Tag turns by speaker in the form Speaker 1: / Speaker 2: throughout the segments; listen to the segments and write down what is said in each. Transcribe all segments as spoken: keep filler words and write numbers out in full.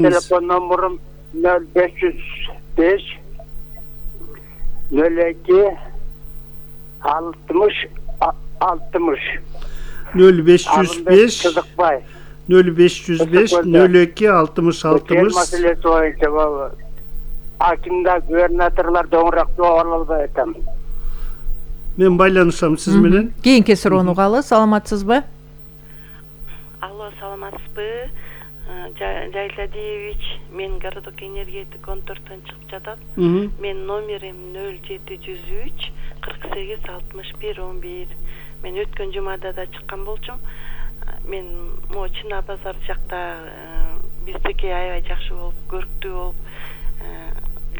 Speaker 1: Telefon numaram nol beş yüz beş nol iki altmış altmış
Speaker 2: nol beş yüz beş
Speaker 1: Kızıkbay
Speaker 2: nol beş yüz beş nol iki altmış altmış
Speaker 1: meselesi boyunca baba hakimde gubernatörler doğrak doğruldu etem.
Speaker 2: Men байланышам сиз менен.
Speaker 3: Кийинки суроону угалы, саламатсызбы?
Speaker 4: Алло, саламатсызбы? Жайладиевич, мен городок энергетик он төрттөн чыгып жатат. Мен номерим нөл жети жүз үч кырк сегиз алтымыш бир он бир. Мен өткөн жумада да чыккан болчумун. Мен могу Чына базар жакта биздики аябай жакшы болуп, көрктүү болуп,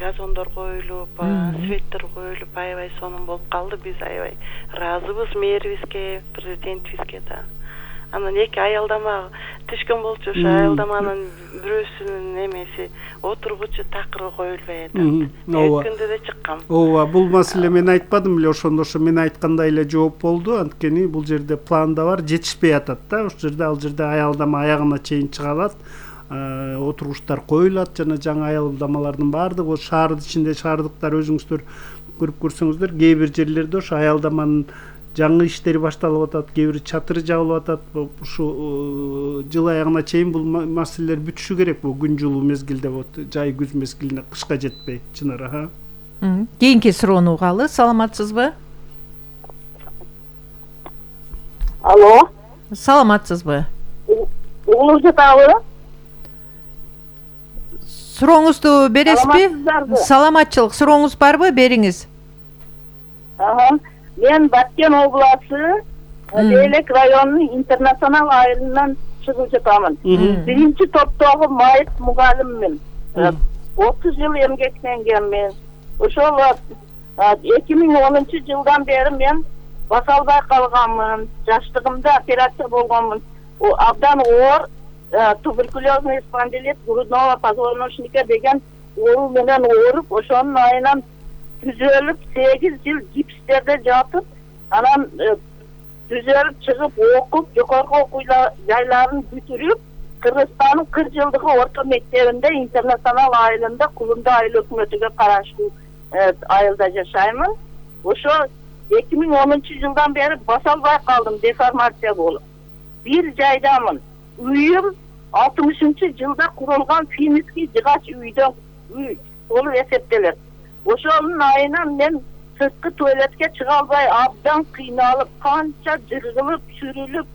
Speaker 4: газондор коюлуп, светтер коюлуп, аябай сонун болуп калды. Биз аябай ыраазыбыз мэрибизге, президентибизге да. Анан эки аялдама түшкөн болчу, ошо аялдаманын бирөөсүнүн эмеси отургучу такыры коюлбай атат. Өткөндө да чыккан.
Speaker 2: Ооба, бул маселе мен айтпадым эле, ошондо ошо мен айткандай эле жооп болду. Анткени бул жерде планда бар, жетишпей атат да. Ошол жерде ал жерде аялдама аягына чейин чыга алат. Отургучтар коюлат жана жаңы аялдамалардын баардыгы шаардын ичинде шаардыктар өзүңүздөр көрүп көрсөңүздөр, кээ бир жерлерде ошо аялдаманын жаңы иштери башталып атат, кээ бир чатыры жабылып атат. Ушу жыл аягына чейин бул маселелер бүтүшү керек. Бул күн жылуу мезгилде вот жай күз мезгилине кышка жетпей, Чынар аха.
Speaker 3: Кийинки суроону угалы, саламатсызбы?
Speaker 5: Алло.
Speaker 3: Саламатсызбы?
Speaker 5: Угулуңуз жатабы?
Speaker 3: Сурооңузду бересизби? Саламатчылык, сурооңуз барбы? Бериңиз.
Speaker 5: Ага. Мен Баткен обласы Лейлек районунун интернационал айылынан чыгып жатамын. Биринчи топтогу майыт мугалиммин. отуз жыл эмгектенгенмин. Ошол эки миң онунчу жылдан бери мен баса албай калганмын. Жаштыгымда операция болгонмун. Абдан оор туберкулезный спондилит грудного позвоночника деген оору менен ооруп, ошонун айынан түзөлүп сегиз жыл гипстерде жатып, анан түзөлүп чыгып окуп, жогорку окуу жайларын бүтүрүп, Кыргызстандын кырк жылдыгы орто мектебинде интернационал айылында Кулунда айыл өкмөтүгө караштуу айылда жашаймын. Ошо эки миң онунчу жылдан бери баса албай калдым, деформация болуп. Бир жайдамын. Үйүм алтымышынчы жылда курулган финский жыгач үйдөн үй болуп эсептелет. Ошонун айынан мен сырткы туалетке чыга албай абдан кыйналып, канча жыргылып, сүрүлүп,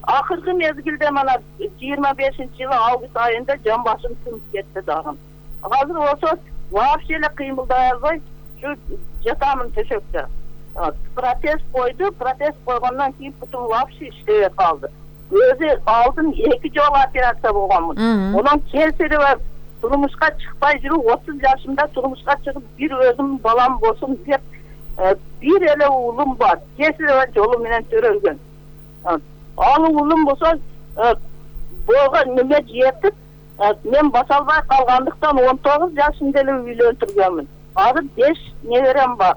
Speaker 5: акыркы мезгилде мана жыйырма бешинчи жылы август айында жан башым сынып кетти дагы. Азыр болсо вообще эле кыймылдай албай ушу жатамын төшөктө. Протез койду, протез койгондон кийин бутум вообще иштебей калды. Өзү алдын эки жолу операция болгонмун. Онун кесири бар. Турмушка чыкпай жүрүп, отуз жашымда турмушка чыгып, бир өзүм балам болсун деп, бир эле уулум бар. Кесири жолу менен төрөлгөн. Ал уулум болсо, буга неме жетип, мен баса албай калгандыктан он тогуз жашымда эле үйлөндүргөнмүн. Азыр беш неберем бар.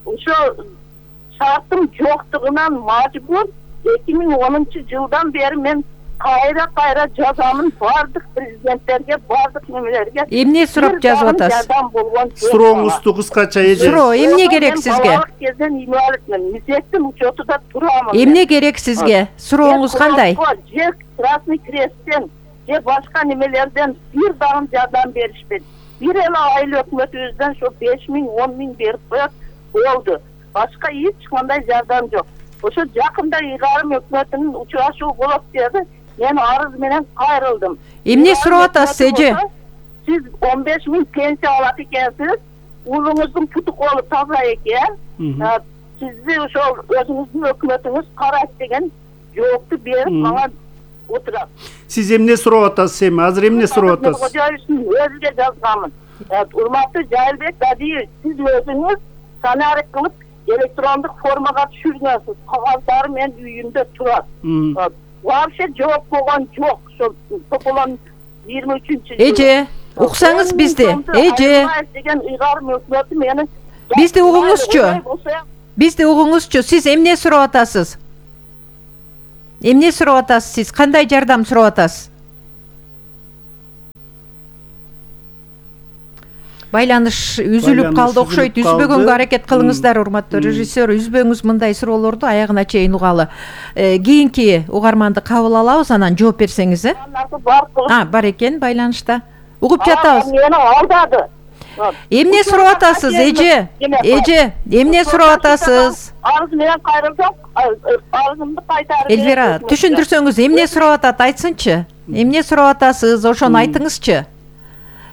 Speaker 5: Ошо шартым жоктугунан мажбур эки миң онунчу жылдан бери мен кайра кайра жазамын бардык президенттерге, бардык немелерге.
Speaker 3: Эмне сурап жазып атасыз?
Speaker 2: Сурооңузду кыскача эже.
Speaker 3: Суроо эмне керек сизге?
Speaker 5: Балалык кезден инвалидмин. Мисектин учетуда турамын.
Speaker 3: Эмне керек сизге? Сурооңуз кандай?
Speaker 5: Же Красный Кресттен, же башка немелерден бир дагы жардам беришпedi. Бир эле айыл өкмөтүбүздөн ошо беш миң он миң берип коет болду. Башка эч кандай жардам жок. Ошо жакында Ыйгарым өкмөтүнүн учурашуу болот деди. Мен арыз менен кайрылдым.
Speaker 3: Эмне сурап атасыз эже?
Speaker 5: Сиз он беш миң пенсия алат экенсиз. Уулуңуздун путу колу таза экен. Сизди ошол өзүңүздүн өкмөтүңүз карайт деген жоопту берип мага отурат.
Speaker 2: Сиз эмне сурап атасыз эми? Азыр эмне сурап атасыз?
Speaker 5: Кожоевичтин өзүгө жазганмын. Урматтуу Жайлбек Дадиев, сиз өзүңүз сценарий кылып электрондук формага түшүргөнсүз. Кагаздары мен үйүмдө турат. Вообще жооп болгон жок. Ошо Тополон жыйырма үчүнчү жылы.
Speaker 3: Эже, уксаңыз бизди. Эже.
Speaker 5: Деген Ыйгарым өкмөтү мени
Speaker 3: Бизди угуңузчу. Бизди угуңузчу. Сиз эмне сурап атасыз? Эмне сурап атасыз сиз? Кандай жардам сурап атасыз? байланыш үзүлүп
Speaker 2: Байланыш
Speaker 3: калды окшойт.
Speaker 2: үзүлүп
Speaker 3: Үзбөгөнгө
Speaker 2: калды.
Speaker 3: аракет кылыңыздар, урматтуу режиссер. Үзбөңүз мындай суроолорду аягына чейин угалы. Э, Кийинки угарманды кабыл алабыз, анан жооп берсеңиз, э? А, бар экен байланышта. Угуп жатабыз.
Speaker 5: Мени алдады.
Speaker 3: Эмне сурап атасыз, эже? Эже, эмне сурап атасыз?
Speaker 5: Арыз менен кайрылсак, арызымды кайтарып.
Speaker 3: Элвира, түшүндүрсөңүз, эмне сурап атат, айтсынчы? Эмне сурап атасыз, ошону айтыңызчы.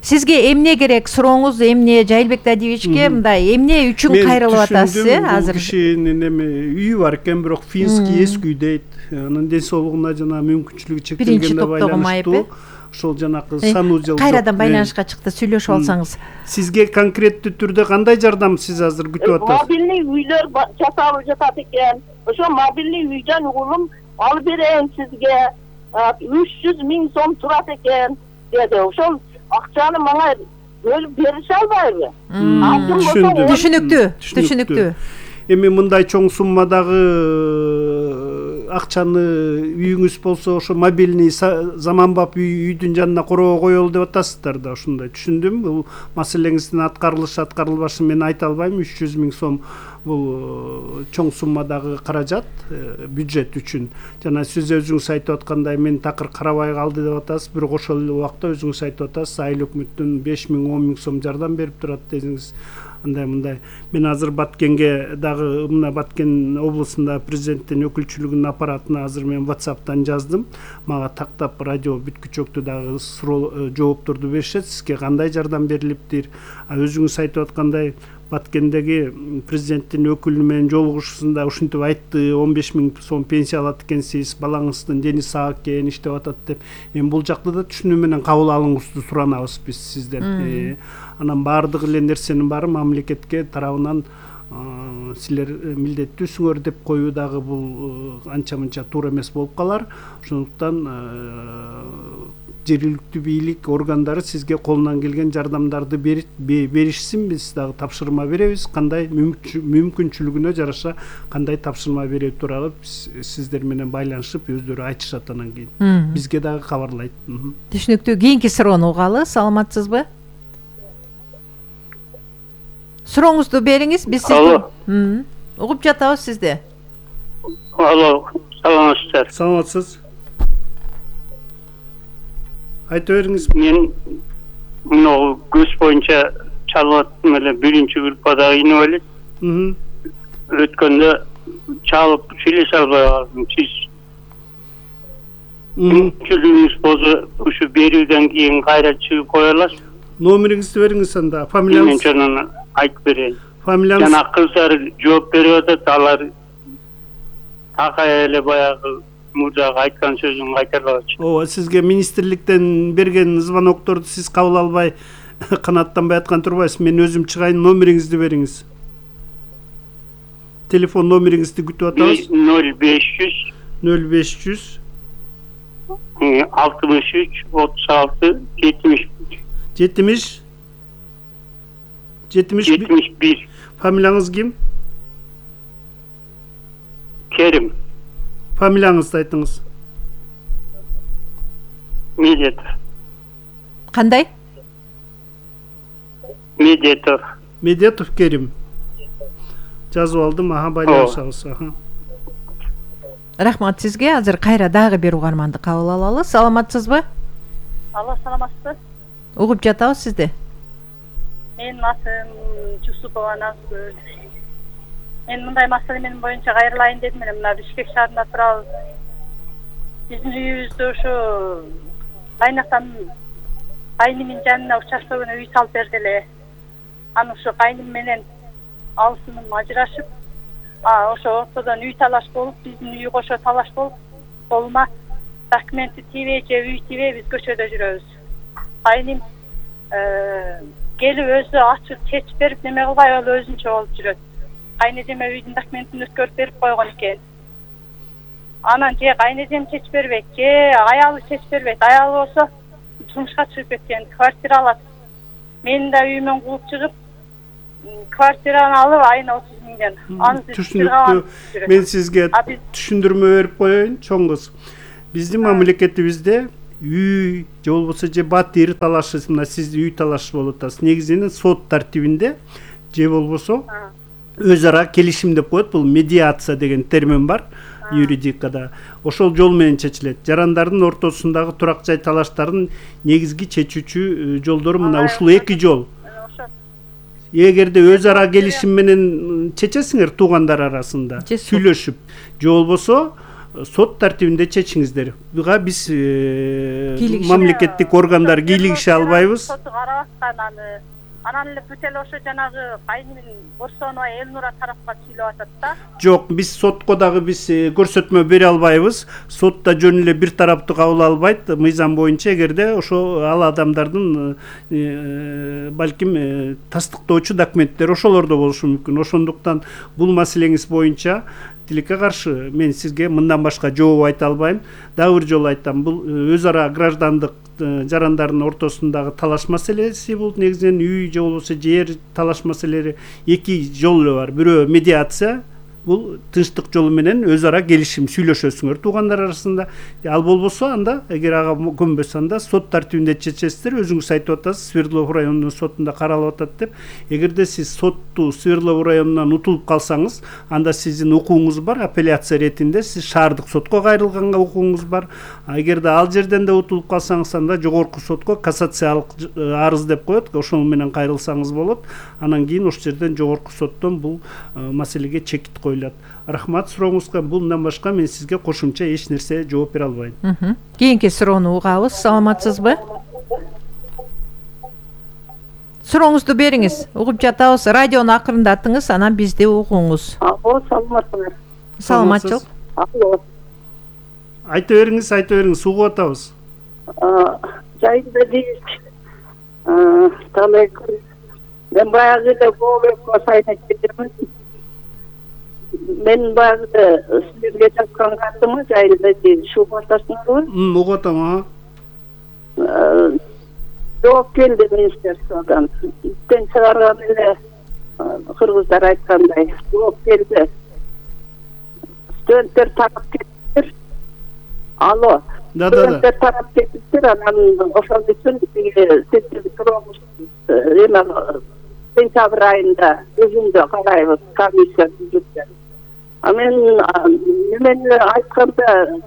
Speaker 3: Сизге эмне керек, сурооңуз эмне? Жайылбек Дадиевичке мындай эмне үчүн кайрылып атасыз, э, азыр?
Speaker 2: Бул кишинин эме үйү бар экен, бирок финский эски үй дейт. Анын ден соолугуна жана мүмкүнчүлүгү чектелгенге байланыштуу ошол жанакы сануужал
Speaker 3: кайрадан байланышка чыкты, сүйлөшүп алсаңыз.
Speaker 2: Сизге конкреттүү түрдө кандай жардам сиз азыр күтүп атасыз?
Speaker 5: Мобильный үйлөр жасалып жатат экен. Ошо мобильный үйдөн угулум алып берейин сизге. үч жүз миң сом турат экен деди. Ошол акчаны мага бөлүп берише албайбы?
Speaker 3: Түшүнүктүү, түшүнүктүү.
Speaker 2: Эми мындай чоң суммадагы акчаны үйүңүз болсо ошо мобильный заманбап үйдүн жанына короого коелу деп атасыздар да, ушундай түшүндүм. Бул маселеңиздин аткарылышы аткарылбашын мен айта албайм. үч жүз миң сом бул чоң суммадагы каражат бюджет үчүн. Жана сиз өзүңүз айтып аткандай мен такыр карабай калды деп атасыз, бирок ошол эле убакта өзүңүз айтып атасыз, айыл өкмөттөн беш миң он миң сом жардам берип турат дедиңиз. Андай мындай. Мен азыр Баткенге дагы мына Баткен облусунда президенттин өкүлчүлүгүнүн аппаратына азыр мен WhatsApp'тан жаздым. Мага тактап радио бүткүчөктү дагы жоопторду беришет. Сизге кандай жардам берилиптир? А өзүңүз айтып аткандай Баткендеги президенттин өкүлү менен жолугушуусунда ушинтип айтты, он беш миң сом пенсия алат экенсиз, балаңыздын дени сак экен, иштеп атат деп. Эми бул жакта да түшүнүү менен кабыл алууңузду суранабыз биз сизден. Анан баардык эле нерсенин баары мамлекетке тарабынан силер милдеттүүсүңөр деп коюу дагы бул анча мынча туура эмес болуп калар. Ошондуктан жергиликтүү бийлик органдары сизге колунан келген жардамдарды беришсин, биз дагы тапшырма беребиз. Кандай мүмкүнчүлүгүнө жараша кандай тапшырма берүү тууралуу сиздер менен байланышып өздөрү айтышат анан кийин. Бизге дагы кабарлайт.
Speaker 3: Түшүнүктүү. Кийинки суроону угалы, саламатсызбы? Сурооңузду бериңиз, биз сизди угуп жатабыз сизди.
Speaker 6: Алло, саламатсыздар.
Speaker 2: Саламатсыз. Айта бериңиз.
Speaker 6: Мен мына көз боюнча чалып аттым эле, биринчи группада кийинип элек. Өткөндө чалып сүйлөшө албай калдым. Сиз мүмкүнчүлүгүңүз болсо ушу берүүдөн кийин кайра чыгып кое аласыз?
Speaker 2: Номериңизди бериңиз анда, фамилияңыз.
Speaker 6: Мен айтып берейин.
Speaker 2: Фамилияңыз.
Speaker 6: Жана кыздар жооп берип атат, алар такай эле баягы мурдагы айткан сөзүн кайтарбакчы.
Speaker 2: Ооба, сизге министрликтен берген звонокторду сиз кабыл албай, канааттанбай аткан турбайсыз. Мен өзүм чыгайын, номериңизди бериңиз. Телефон номериңизди күтүп атабыз.
Speaker 6: ноль беш жүз
Speaker 2: ноль беш жүз
Speaker 6: алтымыш үч отуз алты жетимиш
Speaker 2: жетимиш
Speaker 6: жетимиш бир.
Speaker 2: Фамилияңыз ким?
Speaker 6: Керим.
Speaker 2: Фамилияңызды айтыңыз.
Speaker 6: Медетов.
Speaker 3: Кандай?
Speaker 6: Медетов.
Speaker 2: Медетов Керим. Жазып алдым, аха, байланышабыз.
Speaker 3: Рахмат сизге. Азыр кайра дагы бир угарманды кабыл алалы. Саламатсызбы?
Speaker 5: Алла, саламатсыз.
Speaker 3: Угуп жатабыз сизди.
Speaker 5: Менин атым Жусупова Назгүл. Мен мындай маселе менин боюнча кайрылайын дедим эле. Мына Бишкек шаарында турабыз. Биздин үйүбүздө ушу кайнактан кайнымдын жанына участогуна үй салып берди эле. Анан ушу кайным менен алысынын ажырашып, а ошо ортодон үй талаш болуп, биздин үй кошо талаш болуп, колума документи тийбей же үй тийбей биз көчөдө жүрөбүз. Кайным келип өзү ачып чечип берип неме кылбай ал өзүнчө болуп жүрөт. Кайнэжеме үйдүн документин өткөрүп берип койгон экен. Анан же кайнэжем чечип бербейт, же аялы чечип бербейт. Аялы болсо турмушка чыгып кеткен, квартира алат. Менин да үйүмөн кууп чыгып, квартираны алып айына отуз миңден.
Speaker 2: Түшүнүктүү. Мен сизге түшүндүрмө берип коеюн, чоң кыз. Биздин мамлекетибизде үй же болбосо же батир талашы, мына сиз үй талашы болуп атасыз, негизинен сот тартибинде же болбосо өз ара келишим деп коет. Бул медиация деген термин бар юридикада. Ошол жол менен чечилет. Жарандардын ортосундагы турак жай талаштарын негизги чечүүчү жолдору мына ушул эки жол. Эгерде өз ара келишим менен чечесиңер туугандар арасында сүйлөшүп, же болбосо сот тартибинде чечиңиздер. Буга биз мамлекеттик органдар кийлигише албайбыз.
Speaker 5: Анан эле бүт эле ошо жанагы кайнын Борсонова Элнура тарапка сүйлөп атат да.
Speaker 2: Жок, биз сотко дагы биз көрсөтмө бере албайбыз. Сот да жөн эле бир тараптуу кабыл албайт. Мыйзам боюнча эгерде ошо ал адамдардын балким тастыктоочу документтери ошолордо болушу мүмкүн. Ошондуктан бул маселеңиз боюнча тилекке каршы мен сизге мындан башка жооп айта албайм. Дагы бир жолу айтам, бул өз ара граждандык жарандардын ортосундагы талаш маселеси. Бул негизинен үй же болбосо жер талаш маселелери эки жол эле бар. Бирөө медиация, бул тынчтык жолу менен өз ара келишим сүйлөшөсүңөр туугандар арасында. Ал болбосо анда эгер ага көнбөсө анда сот тартибинде чечесиздер. Өзүңүз айтып атасыз, Свердлов районунун сотунда каралып атат деп. Эгерде сиз сотту Свердлов районунан утулуп калсаңыз, анда сиздин укугуңуз бар, апелляция иретинде сиз шаардык сотко кайрылганга укугуңуз бар. Эгерде ал жерден да утулуп калсаңыз, анда жогорку сотко кассациялык арыз деп коет, ошол менен кайрылсаңыз болот. Анан кийин ошол жерден жогорку соттон бул маселеге чекит коюлат. Рахмат сурооңузга. Бундан башка мен сизге кошумча эч нерсе жооп бере албайм.
Speaker 3: Кийинки суроону угабыз. Саламатсызбы? Сурооңузду бериңиз. Угуп жатабыз. Радиону акырындатыңыз, анан бизди угуңуз.
Speaker 5: Алло, саламатсызбы?
Speaker 3: Саламатчылык.
Speaker 5: Алло.
Speaker 2: Айта бериңиз, айта бериңиз, угуп атабыз.
Speaker 5: Жайында дейт. Талай мен баягы эле Бообекко сайына кетемин. Мен баягы сизге жазган катымы жайында дейт. Ушул батасыңарбы?
Speaker 2: М, угуп атам,
Speaker 5: а. Жооп келди министерстводон. Иттен чыгарган эле кыргыздар айткандай жооп келди. Студенттер тарап кетиптир. Алло.
Speaker 2: Да, да, да.
Speaker 5: Студенттер тарап кетиптир, анан ошол үчүн септик туруп эме сентябрь айында өзүндө карайбыз, комиссия түзүп. А мен немени айтканда,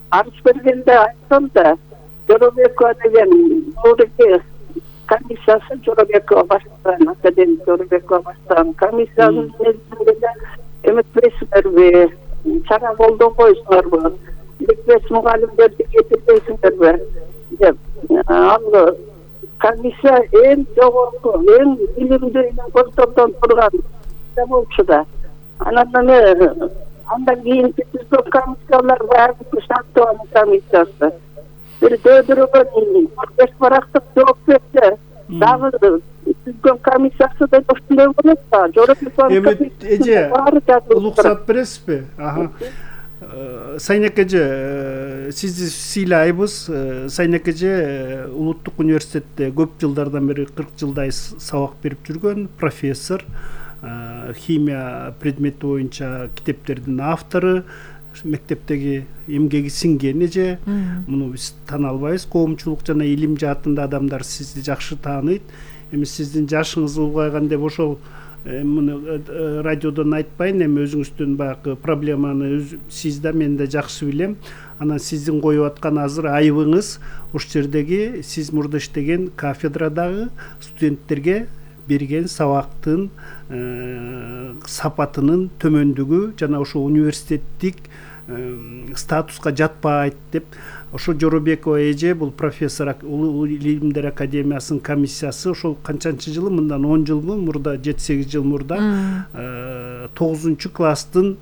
Speaker 5: арыз бергенде айткам да, Жоробекова деген Ноодеги комиссиясы Жоробекова баштаган, академик Жоробекова баштаган комиссиянын негизинде эметпейсиңерби, чара колдоо койсуңарбы, ликбез мугалимдерди кетирбейсиңерби деп. Ал комиссия эң жогорку, эң билимдүү контордон турган болчу да. Анан эме андан кийин түзгөн комиссиялар баары шарттоонун комиссиясы. Бир дөдөргөн беш барактык жооп берди. Дагы түзгөн комиссиясы да ошондой болот да.
Speaker 2: Эми эже уруксат бересизби? Аха. Сайнек эже, сизди сыйлайбыз. Сайнек эже улуттук университетте көп жылдардан бери кырк жылдай сабак берип жүргөн профессор, химия предмети боюнча китептердин автору, мектептеги эмгеги сиңген эже. Муну биз тана албайбыз. Коомчулук жана илим жаатында адамдар сизди жакшы тааныйт. Эми сиздин жашыңыз улгайган деп ошол муну радиодон айтпайын, эми өзүңүздүн баягы проблеманы сиз да мен да жакшы билем. Анан сиздин коюп аткан азыр айыбыңыз ошол жердеги сиз мурда иштеген кафедрадагы студенттерге берген сабактын сапатынын төмөндүгү жана ошо университеттик статуска жатпайт деп. Ошо Жоробекова эже бул профессор, улуу илимдер академиясынын комиссиясы ошол канчанчы жылы, мындан он жылмы мурда, жети сегиз жыл мурда тогузунчу класстын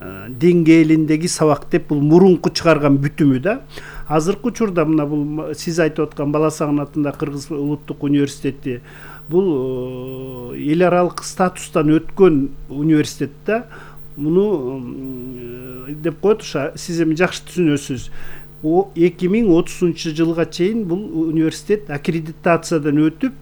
Speaker 2: деңгээлиндеги сабак деп бул мурунку чыгарган бүтүмү да. Азыркы учурда мына бул сиз айтып аткан Бала Сагынатында Кыргыз улуттук университети бул эл аралык статустан өткөн университет да. Муну деп коет, сиз эми жакшы түшүнөсүз. эки миң отузунчу жылга чейин бул университет аккредитациядан өтүп,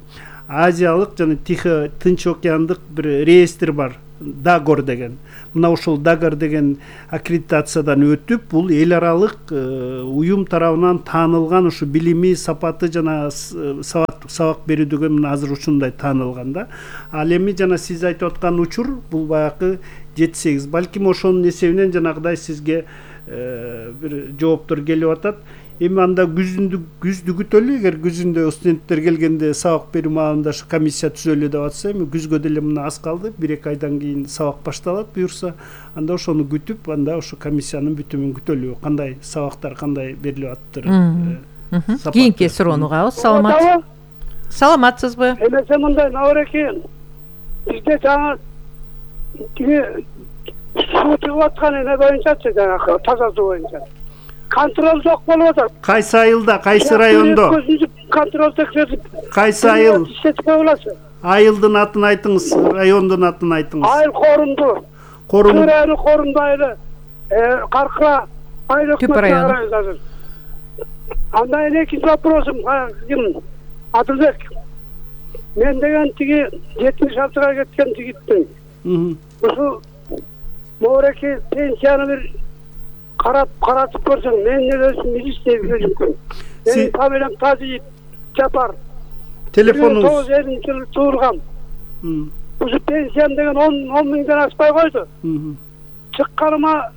Speaker 2: Азиялык жана Тихо Тынч океандык бир реестр бар. Дагор деген. Мына ошол Дагор деген аккредитациядан өтүп, бул эл аралык уюм тарабынан таанылган ушу билими, сапаты жана сабак берүүдөгө мына азыр ушундай таанылган да. Ал эми жана сиз айтып аткан учур бул баягы жети сегиз. Балким ошонун эсебинен жанагыдай сизге бир жооптор келип атат. Эми анда күзүндү күздү күтөлү, эгер күзүндө студенттер келгенде сабак берүү маалында ушу комиссия түзөлү деп атса, эми күзгө деле мына аз калды, бир эки айдан кийин сабак башталат буюрса, анда ошону күтүп, анда ошо комиссиянын бүтүмүн күтөлү, кандай сабактар кандай берилип аттыр.
Speaker 3: Кийинки суроону угабыз. Саламат. Саламатсызбы?
Speaker 7: Эмесе мындай Навреки, бизде жаңы тиги суу чыгып аткан эне боюнчачы, жанагы таза суу боюнча контроль жок болуп атат.
Speaker 2: Кайсы айылда, кайсы райондо?
Speaker 7: Контроль текшерип.
Speaker 2: Кайсы айыл?
Speaker 7: Иштетип кое аласыз.
Speaker 2: Айылдын атын айтыңыз, райондун атын айтыңыз.
Speaker 7: Айыл Корунду.
Speaker 2: Корун.
Speaker 7: Айыл Корунду айылы. Э, Каркыра айыл
Speaker 3: Түп району.
Speaker 7: азыр. Анда экинчи вопросум, ким? Адылбек. Мен деген тиги жетимиш алтыга кеткен жигитмин. Ушу Мореки пенсияны бир карап каратып көрсөң, мен өзүм милиция жүргүм. Менин фамилиям Тазиев Жапар.
Speaker 2: Телефонуңуз
Speaker 7: тогуз элүү жылы туулган. Ушу пенсиям деген он миңден аспай койду. Чыкканыма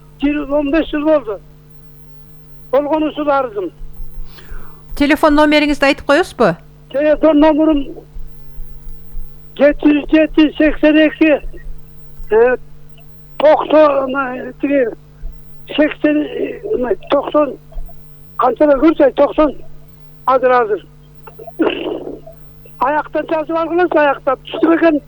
Speaker 7: он беш жыл болду. Болгон ушул арызым.
Speaker 3: Телефон номериңизди айтып коесузбу?
Speaker 7: Телефон номерим жети жүз жети сексен эки токсон тиги сексен токсон канчада көрсөй токсон азыр азыр аяктан жазып алгылас, аяктап түштү экен.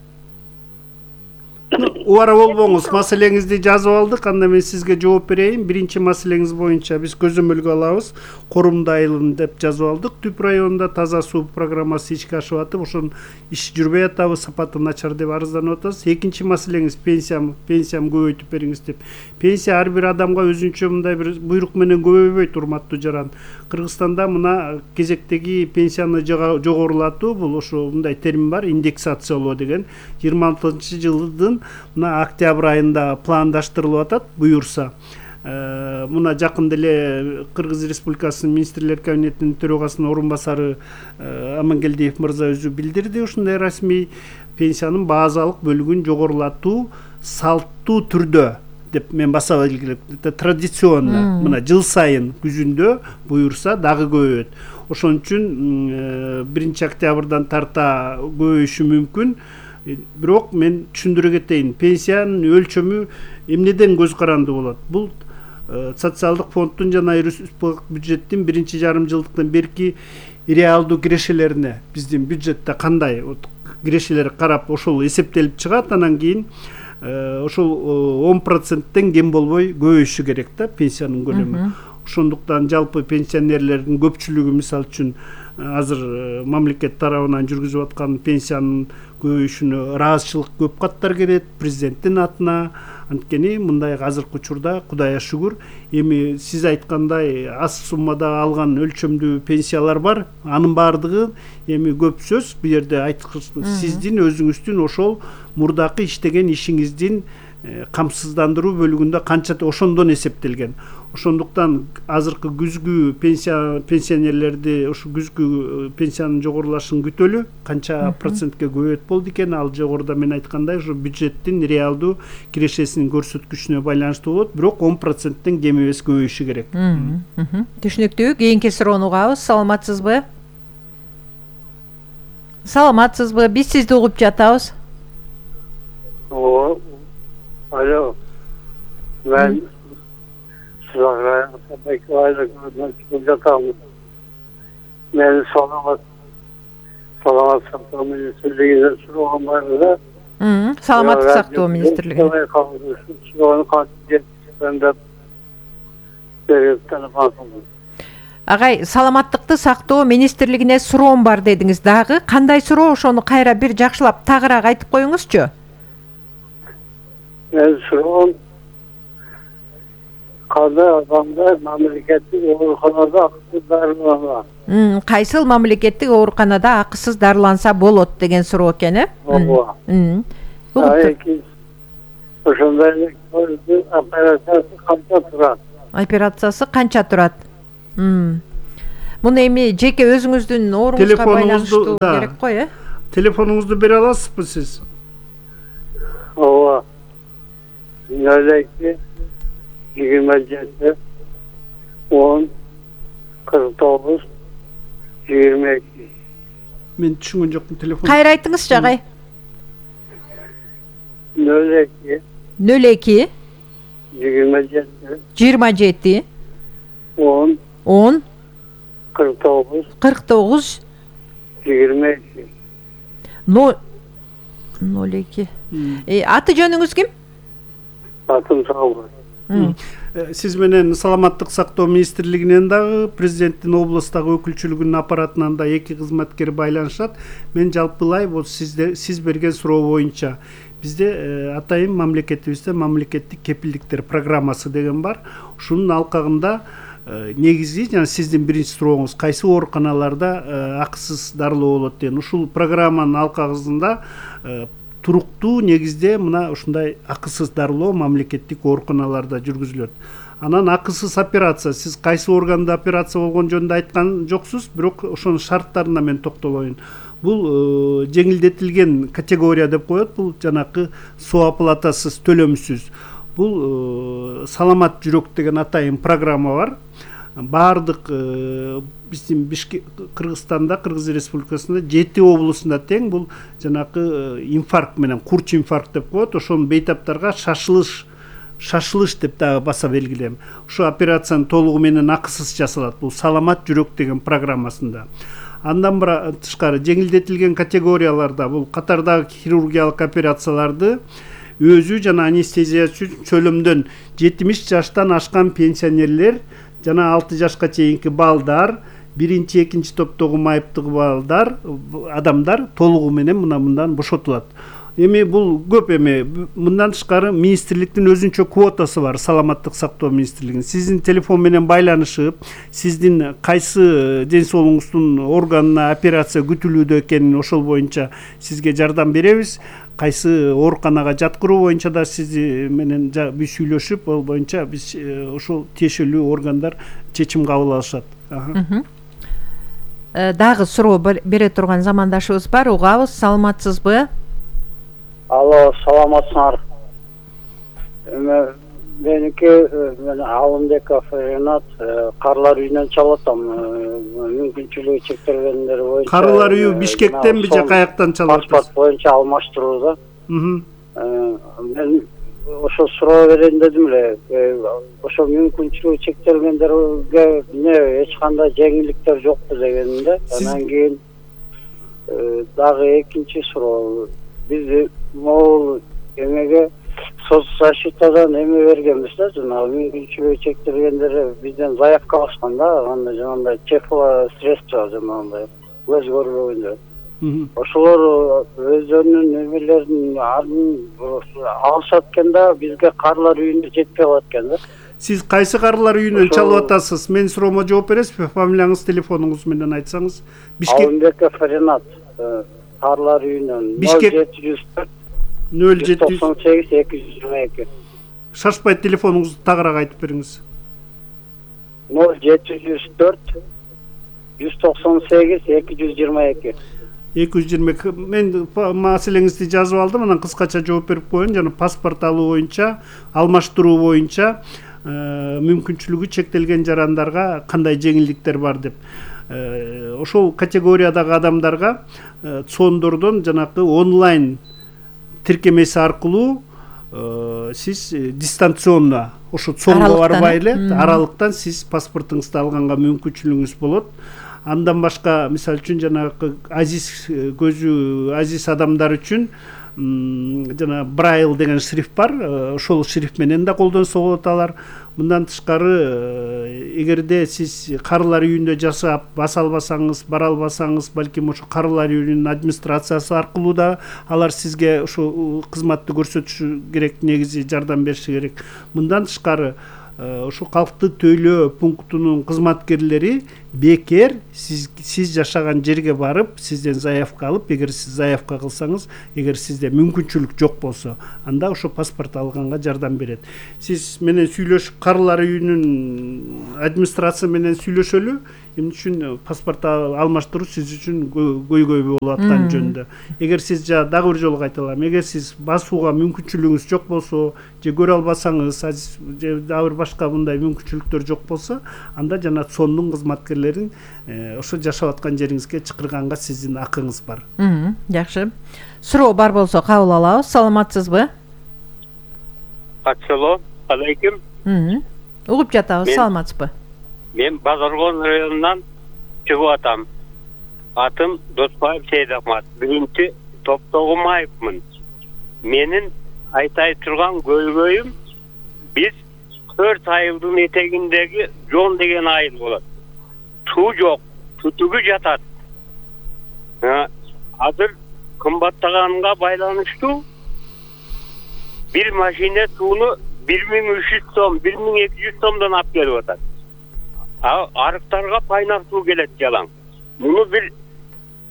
Speaker 2: Убара болбоңуз, маселеңизди жазып алдык. Анда мен сизге жооп берейин. Биринчи маселеңиз боюнча биз көзөмөлгө алабыз. Корумда айылын деп жазып алдык. Түп районунда таза суу программасы ишке ашып атып, ошонун иш жүрбөй атабы, сапаты начар деп арызданып атасыз. Экинчи маселеңиз пенсиям, пенсиям көбөйтүп бериңиз деп. Пенсия ар бир адамга өзүнчө мындай бир буйрук менен көбөйбөйт, урматтуу жаран. Кыргызстанда мына кезектеги пенсияны жогорулатуу, бул ошо мындай термин бар, индексациялоо деген. жыйырма алтынчы жылдын мына октябрь айында пландаштырылып атат буюрса. Мына жакын деле Кыргыз Республикасынын министрлер кабинетинин төрагасынын орун басары Амангелдиев мырза өзү билдирди, ушундай расмий пенсиянын базалык бөлүгүн жогорулатуу салттуу түрдө деп мен баса белгилеп, это традиционно, мына жыл сайын күзүндө буюрса дагы көбөйөт. Ошон үчүн биринчи октябрдан тарта көбөйүшү мүмкүн. Бирок мен түшүндүрө кетейин, пенсиянын өлчөмү эмнеден көз каранды болот? Бул социалдык фонддун жана республикалык бюджеттин биринчи жарым жылдыктан берки реалдуу кирешелерине биздин бюджетте кандай кирешелер карап ошол эсептелип чыгат, анан кийин ошол он проценттен кем болбой көбөйүшү керек да пенсиянын көлөмү. Ошондуктан жалпы пенсионерлердин көпчүлүгү мисалы үчүн азыр мамлекет тарабынан жүргүзүп аткан пенсиянын көбөйүшүнө ыраазычылык көп каттар келет президенттин атына. Анткени мындай азыркы учурда Кудайга шүгүр, эми сиз айткандай аз суммада алган өлчөмдүү пенсиялар бар. Анын баардыгы эми көп сөз, бул жерде айткыс сиздин өзүңүздүн ошол мурдакы иштеген ишиңиздин камсыздандыруу бөлүгүндө канча ошондон эсептелген. Ошондуктан азыркы күзгү пенсия пенсионерлерди ушу күзгү пенсиянын жогорулашын күтөлү. Канча процентке көбөйөт болду экен, ал жогоруда мен айткандай ушу бюджеттин реалдуу кирешесинин көрсөткүчүнө байланыштуу болот, бирок он проценттен кем эмес көбөйүшү керек.
Speaker 3: Түшүнүктүү. Кийинки суроону угабыз. Саламатсызбы? Саламатсызбы? Биз сизди угуп жатабыз.
Speaker 6: О, алло. Мен сызагай байкалайда жатамын. Мен саламат саламат сактоо министрлигине сураган бар да.
Speaker 3: Саламаттык сактоо министрлигине. Агай, саламаттыкты сактоо министрлигине суроом бар дедиңиз дагы. Кандай суроо, ошону кайра бир жакшылап тагыраак айтып коюңузчу.
Speaker 6: Мен суроом кандай адамдар мамлекеттик ооруканада акысыз дарыланат?
Speaker 3: Кайсыл мамлекеттик ооруканада акысыз дарыланса болот деген суроо экен, э?
Speaker 6: Ооба. ошондой операциясы канча турат?
Speaker 3: Операциясы канча турат? Муну эми жеке өзүңүздүн ооруңузга байланыштуу керек го, э?
Speaker 2: Телефонуңузду бере аласызбы сиз?
Speaker 6: Ооба. нөл эки жыйырма жети он кырк тогуз жыйырма эки.
Speaker 2: Мен түшүнгөн жокмун телефон.
Speaker 3: Кайра айтыңызчы агай.
Speaker 6: нөл эки
Speaker 3: нөл эки
Speaker 6: жыйырма жети
Speaker 3: жыйырма жети
Speaker 6: он
Speaker 3: он
Speaker 6: кырк тогуз
Speaker 3: кырк тогуз
Speaker 6: жыйырма эки.
Speaker 3: нөл эки. Аты жөнүңүз ким?
Speaker 6: Атым Саалбай.
Speaker 2: Сиз менен Саламаттык сактоо министрлигинен дагы, президенттин облустагы өкүлчүлүгүнүн аппаратынан да эки кызматкер байланышат. Мен жалпылай бул сизде сиз берген суроо боюнча бизде атайын мамлекетибизде мамлекеттик кепилдиктер программасы деген бар. Ушунун алкагында негизи жана сиздин биринчи сурооңуз кайсы ооруканаларда акысыз дарылоо болот деген. Ушул программанын алкагында туруктуу негизде мына ушундай акысыз дарылоо мамлекеттик ооруканаларда жүргүзүлөт. Анан акысыз операция, сиз кайсы органда операция болгон жөнүндө айткан жоксуз, бирок ошонун шарттарына мен токтолоюн. Бул жеңилдетилген категория деп коет, бул жанакы соо оплатасыз, төлөмсүз. Бул саламат жүрөк деген атайын программа бар. Баардык биздин Бишкек, Кыргызстанда, Кыргыз Республикасында жети облусунда тең бул жанакы инфаркт менен курч инфаркт деп коет. Ошонун бейтаптарга шашылыш шашылыш деп дагы баса белгилем. Ушу операцияны толугу менен акысыз жасалат. Бул саламат жүрөк деген программасында. Андан тышкары жеңилдетилген категорияларда бул катардагы хирургиялык операцияларды өзү жана анестезия чөлөмдөн жетимиш жаштан ашкан пенсионерлер жана алты жашка чейинки балдар, биринчи, экинчи топтогу майыптыгы балдар, адамдар толугу менен мына мындан бошотулат. Эми бул көп эми мындан тышкары министрликтин өзүнчө квотасы бар, Саламаттык сактоо министрлигинин. Сиздин телефон менен байланышып, сиздин кайсы ден соолугуңуздун органына операция күтүлүүдө экенин ошол боюнча сизге жардам беребиз. Кайсы ооруканага жаткыруу боюнча да сиз менен биз сүйлөшүп, ал боюнча биз ошол тиешелүү органдар чечим кабыл алышат.
Speaker 3: Дагы суроо бере турган замандашыбыз бар, угабыз. Саламатсызбы?
Speaker 6: Алло, саламатсыңар. Меники мен Алымбеков Ренат, Карлар үйүнөн чалатам. Мүмкүнчүлүгү чектелгендер боюнча.
Speaker 2: Карлар үйү Бишкектенби же каяктан чалат?
Speaker 6: Паспорт боюнча алмаштырууда. Мен ошо суроо берейин дедим эле. Ошо мүмкүнчүлүгү чектелгендерге эмне эч кандай жеңилдиктер жокпу дегенде. Анан кийин дагы экинчи суроо. Биз могул эмеге соцзащитадан эме бергенбиз да, жана мүмкүнчүлүгү чектелгендер бизден заявка алышкан да, андай жанагындай чековое средство жанагындай көз көрбөгөндөр. Ошолор өздөрүнүн эмелерин алышат экен да, бизге Карлар үйүнө жетпей калат экен да.
Speaker 2: Сиз кайсы Карлар үйүнөн чалып атасыз? Мен суроомо жооп бересизби? Фамилияңыз, телефонуңуз менен айтсаңыз.
Speaker 6: Алымбеков Ренат, Карлар үйүнөн нөл жети жүз төрт
Speaker 2: нөл жети жүз
Speaker 6: токсон сегиз эки жүз жыйырма эки.
Speaker 2: Шашпай телефонуңузду тагыраак айтып бериңиз.
Speaker 6: нөл жети жүз төрт жүз токсон сегиз эки жүз жыйырма эки.
Speaker 2: эки жүз жыйырма эки. Мен маселеңизди жазып алдым, анан кыскача жооп берип коеюн. Жана паспорт алуу боюнча, алмаштыруу боюнча мүмкүнчүлүгү чектелген жарандарга кандай жеңилдиктер бар деп. Ошол категориядагы адамдарга цондордон жанакы онлайн тиркемеси аркылуу сиз дистанционно ошо цонго барбай эле аралыктан сиз паспортуңузду алганга мүмкүнчүлүгүңүз болот. Андан башка, мисалы үчүн жанагы азиз көзү азиз адамдар үчүн жана Брайл деген шрифт бар, ошол шрифт менен да колдонсо болот алар. Мындан тышкары, эгерде сиз Карлар үйүндө жашап баса албасаңыз, бара албасаңыз, балким ошо Карлар үйүнүн администрациясы аркылуу да алар сизге ошо кызматты көрсөтүшү керек, негизи жардам бериши керек. Мындан тышкары, ошо калкты тейлөө пунктунун кызматкерлери бекер сиз сиз жашаган жерге барып сизден заявка алып, эгер сиз заявка кылсаңыз, эгер сизде мүмкүнчүлүк жок болсо, анда ошо паспорт алганга жардам берет. Сиз менен сүйлөшүп, карылар үйүнүн администрация менен сүйлөшөлү. Эмне үчүн паспорт алмаштыруу сиз үчүн көйгөй болуп аткан жөнүндө. Эгер сиз жа дагы бир жолу кайталам, эгер сиз басууга мүмкүнчүлүгүңүз жок болсо, же көрө албасаңыз, же дагы бир башка мындай мүмкүнчүлүктөр жок болсо, анда жана сондун кызматкерлерин ошо жашап аткан жериңизге чакырганга сиздин акыңыз бар.
Speaker 3: Жакшы. Суроо бар болсо кабыл алабыз. Саламатсызбы?
Speaker 8: Ассалам алейкум.
Speaker 3: Угуп жатабыз. Саламатсызбы?
Speaker 8: Мен Базаркон районунан чыгып атам. Атым Доспаев Сейдахмат. Биринчи Топтогумаевмын. Менин айтай турган көйгөйүм, биз төрт айылдын этегиндеги Жон деген айыл болот. Суу жок, түтүгү жатат. Азыр кымбаттаганга байланыштуу бир машина сууну бир миң үч жүз сом, бир миң эки жүз сомдон алып келип атат. Арыктарга пайнак суу келет жалаң. Муну бир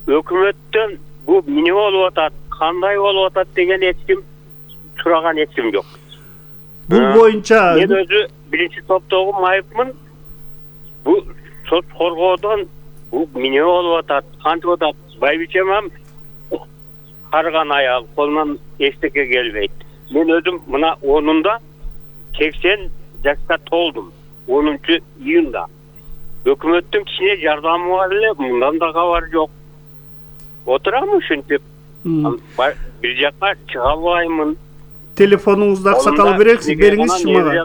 Speaker 8: өкмөттөн бу эмне болуп атат, кандай болуп атат деген эч ким сураган эч ким жок.
Speaker 2: Бул боюнча
Speaker 8: мен өзү биринчи топтогу майыпмын. Бу сот коргоодон бу эмне болуп атат, кантип атат? Байбичемам карган аял, колунан эчтеке келбейт. Мен өзүм мына онунда сексен жашка толдум. онунчу июнда. Өкмөттүн кичине жардамы бар эле, мындан да кабар жок. Отурам ушинтип. Бир жакка чыга албаймын.
Speaker 2: Телефонуңузду аксакал бересиз, бериңизчи мага.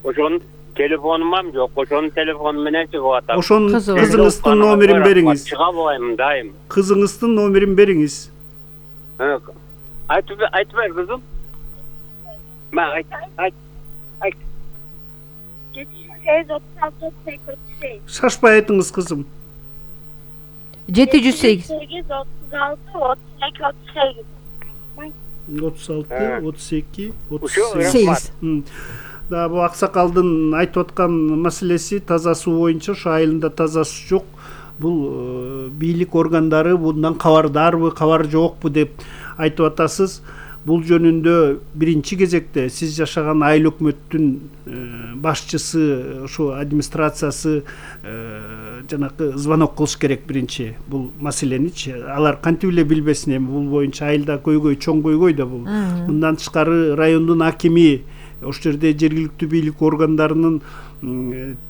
Speaker 8: Ошонун телефонум жок, ошонун телефону менен чыгып атам.
Speaker 2: Ошонун кызыңыздын номерин бериңиз.
Speaker 8: Чыга албайм дайым.
Speaker 2: Кызыңыздын номерин бериңиз.
Speaker 8: Айтып айтпай кызым. Ма айт, айт. Айт.
Speaker 2: Шашпай айтыңыз кызым.
Speaker 3: жети жүз сегиз
Speaker 2: отуз алты отуз эки отуз
Speaker 3: сегиз.
Speaker 2: Да, бу аксакалдын айтып аткан маселеси таза суу боюнча ошо айылында таза суу жок. Бул бийлик органдары bundan кабардарбы, кабар жокпу деп айтып атасыз. Бул жөнүндө биринчи кезекте сиз жашаган айыл өкмөттүн башчысы, ошо администрациясы жанакы звонок кылыш керек биринчи бул маселеничи. Алар кантип эле билбесин, эми бул боюнча айылда көйгөй, чоң көйгөй да бул. Мындан тышкары райондун акими, ошол жерде жергиликтүү бийлик органдарынын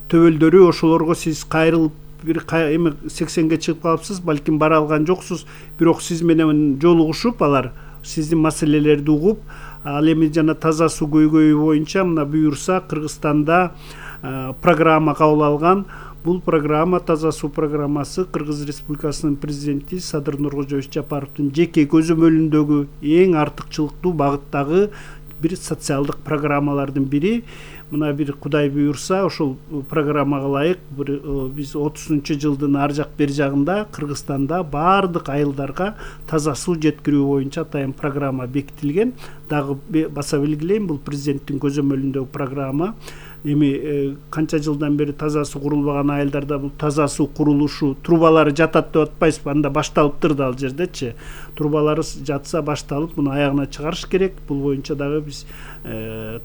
Speaker 2: төбөлдөрү, ошолорго сиз кайрылып бир эми сексенге чыгып калыпсыз, балким бара алган жоксуз, бирок сиз менен жолугушуп алар сиздин маселелерди угуп, ал эми жана таза суу көйгөйү боюнча мына буюрса Кыргызстанда программа кабыл алган. Бул программа, таза суу программасы Кыргыз Республикасынын президенти Садыр Нуркожоевич Жапаровдун жеке көзөмөлүндөгү эң артыкчылыктуу багыттагы бир социалдык программалардын бири. Мына бир Кудай буюрса, ошол программага ылайык биз отузунчу жылдын ар жак бери жагында Кыргызстанда баардык айылдарга таза суу жеткирүү боюнча атайын программа бекитилген. Дагы баса белгилейм, бул президенттин көзөмөлүндөгү программа. Эми канча жылдан бери таза суу курулбаган айылдарда бул таза суу курулушу, трубалары жатат деп атпайсызбы? Анда башталыптыр да ал жердечи. Трубалары жатса башталып, муну аягына чыгарыш керек. Бул боюнча дагы биз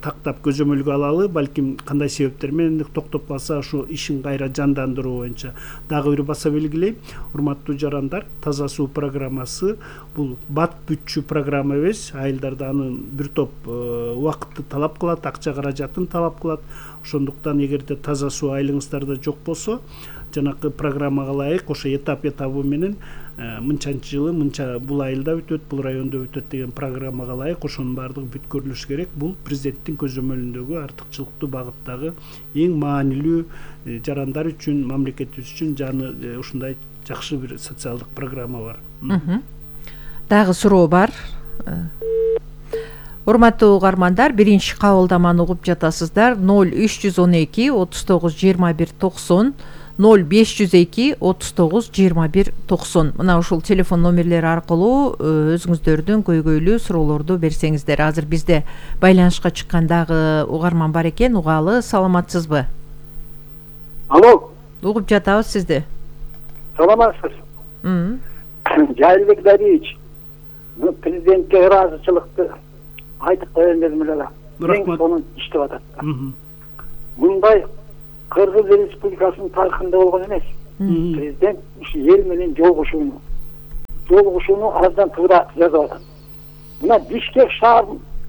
Speaker 2: тактап көзөмөлгө алалы, балким кандай себептер менен токтоп калса ушу ишин кайра жандандыруу боюнча. Дагы бир баса белгилейм, урматтуу жарандар, таза суу программасы бул бат бүтчү программа эмес. Айылдарда анын бир топ убакытты талап кылат, акча каражатын талап кылат. Ошондуктан эгерде таза суу айылыңыздарда жок болсо, жанакы программага ылайык ошо этап этабы менен мынчанчы жылы мынча бул айылда бүтөт, бул райондо бүтөт деген программага ылайык ошонун баардыгы бүткөрүлүш керек. Бул президенттин көзөмөлүндөгү артыкчылыктуу багыттагы эң маанилүү жарандар үчүн, мамлекетибиз үчүн жаны ушундай жакшы бир социалдык программа бар.
Speaker 3: Дагы суроо бар. Урматтуу угармандар, биринчи кабылдаманы угуп жатасыздар. ноль үч жүз он эки отуз тогуз жыйырма бир токсон, ноль беш жүз эки отуз тогуз жыйырма бир токсон. Мына ушул телефон номерлери аркылуу өзүңүздөрдүн көйгөйлүү суроолорду берсеңиздер. Азыр бизде байланышка чыккан дагы угарман бар экен, угалы. Саламатсызбы?
Speaker 9: Алло.
Speaker 3: угуп жатабыз сизди.
Speaker 1: Саламатсыз. Жайылбек Дариевич, президентке ыраазычылыкты айтып коеюн дедим эле.
Speaker 2: Рахмат.
Speaker 1: Сонун иштеп атат. Мындай Кыргыз Республикасынын тарыхында болгон эмес. Президент ушу эл менен жолугушууну жолугушууну аздан туура жазып атат. Мына Бишкек шаар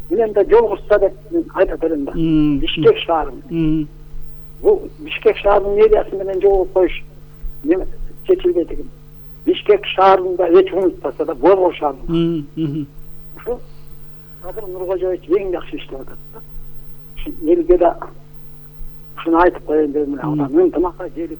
Speaker 1: менен да жолугушса деп айтып берем да. Бишкек шаары. Бул Бишкек шаарынын мэриясы менен жолугуп коюш неме чечилбейт экен. Бишкек шаарында эч унутпаса да Борбор шаарында. Ушу Кадыр Нуркожоевич эң жакшы иштеп атат да. Ушу элге да ушуну айтып коеюн дедим эле. Адам ынтымакка келип.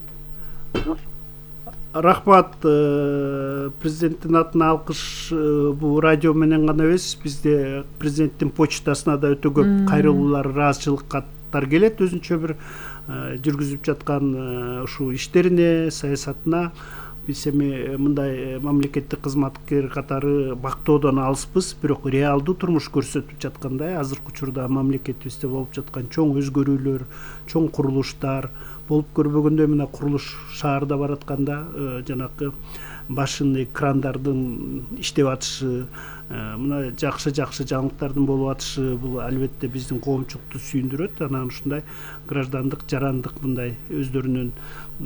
Speaker 2: Рахмат, президенттин атына алкыш. Бул радио менен гана эмес, бизде президенттин почтасына да өтө көп кайрылуулар, ыраазычылык каттар келет өзүнчө бир жүргүзүп жаткан ушул иштерине, саясатына. Биз эми мындай мамлекеттик кызматкер катары бактоодон алыспыз, бирок реалдуу турмуш көрсөтүп жаткандай азыркы учурда мамлекетибизде болуп жаткан чоң өзгөрүүлөр, чоң курулуштар болуп көрбөгөндөй мына курулуш шаарда баратканда жанакы башын экрандардын иштеп атышы, мына жакшы-жакшы жаңылыктардын болуп атышы бул албетте биздин коомчулукту сүйүндүрөт. Анан ушундай граждандык, жарандык мындай өздөрүнүн